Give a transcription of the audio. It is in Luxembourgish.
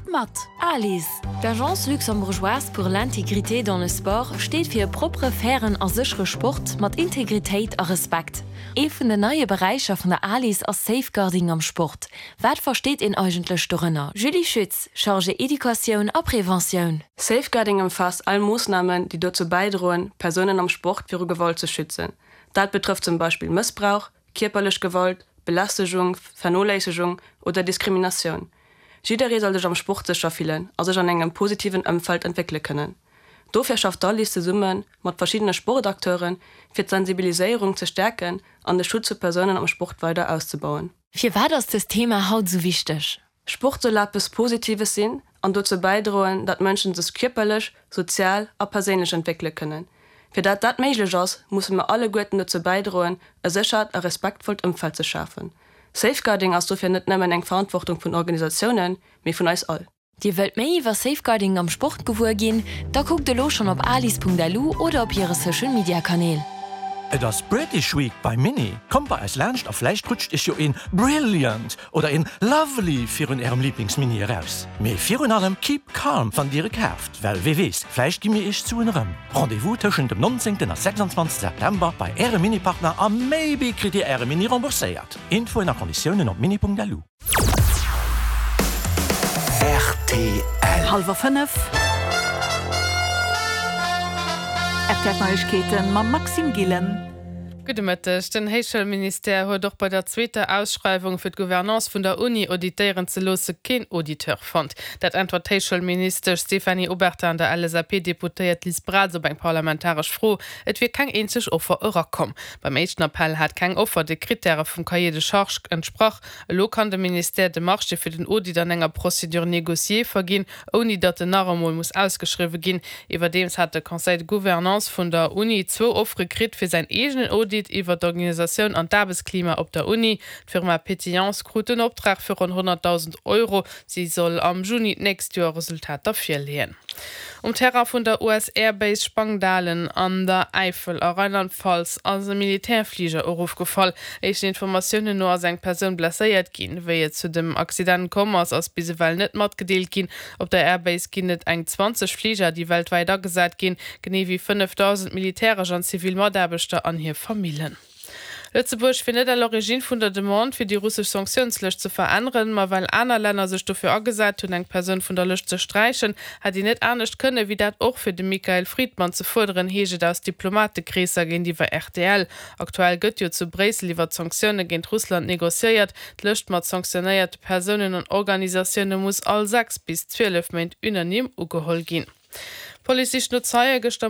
Spillt mat! ALIS, d'Agence luxembourgeoise pour l'intégrité dans le sport, steet fir e proppere, fairen a séchere Sport mat Integritéit a Respekt. Ee vun den neie Beräicher vun der ALIS ass Safeguarding am Sport. Wat versteet een eigentlech dorënner? Julie Schütz, Chargée Educatioun a Preventioun. Safeguarding ëmfaasst all Moossnamen, déi dozou bäidroen, Persounen am Sport viru Gewalt ze schützen. Dat betrëfft zum Beispill Mëssbrauch, kierperlech Gewalt, Belästegung, Vernoléissegung oder Diskriminatioun. Jidderee soll sech am Sport sécher fillen a sech an engem positiven Ëmfeld entwéckele kënnen. Dofir schafft d'Alice zesumme mat verschiddene Sportacteuren, fir d'Sensibiliséierung ze stäerken an de Schutz vu Persounen am Sport weider auszebauen. Firwat ass dëst Thema haut esou wichteg? Sport soll eppes Positives sinn an dozou bäidroen, dat Mënschen sech kierperlech, sozial a perséinlech entwéckele kënnen. Fir dat dat méiglech ass, musse mer alleguerten dozou bäidroen, e séchert a respektvollt Ëmfeld ze schafen. Safeguarding ass dofir net nëmmen eng Verantwortung vun Organisatiounen, mee vun eis all. Dir wëllt méi iwwer Safeguarding am Sport gewuer ginn? Da kuckt elo schonn op alis.lu oder op hire Social Media Kanäl. Et ass British Week bei Mini! Kommt bei eis laanscht a vläicht rutscht iech jo een Brilliant oder een Lovely virun ärem Liiblingsmini eraus. Mee virun allem keep calm wann dir e kaaft, well wee weess, vläicht gi mir iech d'Suen erëm. Rendez-vous tëschent dem 19 a 26 September bei ärem Mini-Partner a maybe kritt dir äre Mini rembourséiert. Infoen a Konditiounen op mini.lu. Rtl. Hallwer 5. RTL Neiegkeeten mam Maxime Gillen. Gudde Mëtteg. Den Héichschoulministère huet och bei der zweeter Ausschreiwung fir d'Gouvernance vun der Uni auditéieren ze loosse keen Auditeur fonnt. Dat äntwert d'Héichschoulministesch Stéphanie Obertin an der LSAP-Deputéiert Liz Braz op eng parlamentaresch Fro. Et wier keng eenzeg Offer erakomm. Beim éischten Appell hat keng Offer de Krittäre vum Cahier de charges entsprach. Elo kann de Ministère de Marché fir den Audit an enger Procédure négociée verginn, ouni datt en nach emol muss ausgeschriwwe ginn. Iwwerdeems hat de Conseil de Gouvernance vun der Uni zwou Offere kritt fir säin eegenen Audit iwwer d'Organisatioun an d'Aarbechtsklima op der Uni. D'Firma Pétillance krut den Optrag fir ronn 100.000 Euro. Si soll am Juni d'nächst Joer Resultater virleeën. Um Terrain vun der US Air Base Spangdahlem an der Äifel a Rheinland-Pfalz ass e Militärfliger erofgefall. Éischten Informatiounen no ass eng Persoun blesséiert ginn. Wéi et zu dem Accident komm ass, ass bis ewell net matgedeelt ginn. Op der Air Base ginn et eng 20 Fliger, déi weltwäit agesat ginn, genee wéi 5.000 militäresch an zivil Mataarbechter an hir Famillen. Lëtzebuerg wier net à l'origine vun der Demande, fir déi russesch Sanktiounslëscht ze veränneren, ma well aner Länner sech dofir agesat hunn, eng Persoun vun der Lëscht ze sträichen, hätt een net anescht kënnen, wéi dat och fir de Mikhail Fridman ze fuerderen, heescht et aus Diplomatekreesser géintiwwer rtl. Aktuell gëtt jo zu Bréissel iwwer d'Sanktioune géint Russland negociéiert. D'Lëscht mat sanktionéierte Persounen an Organisatioune muss all 6 bis 12 Méint unanime ugeholl ginn. D'Police sicht no Zeie. Gëschter.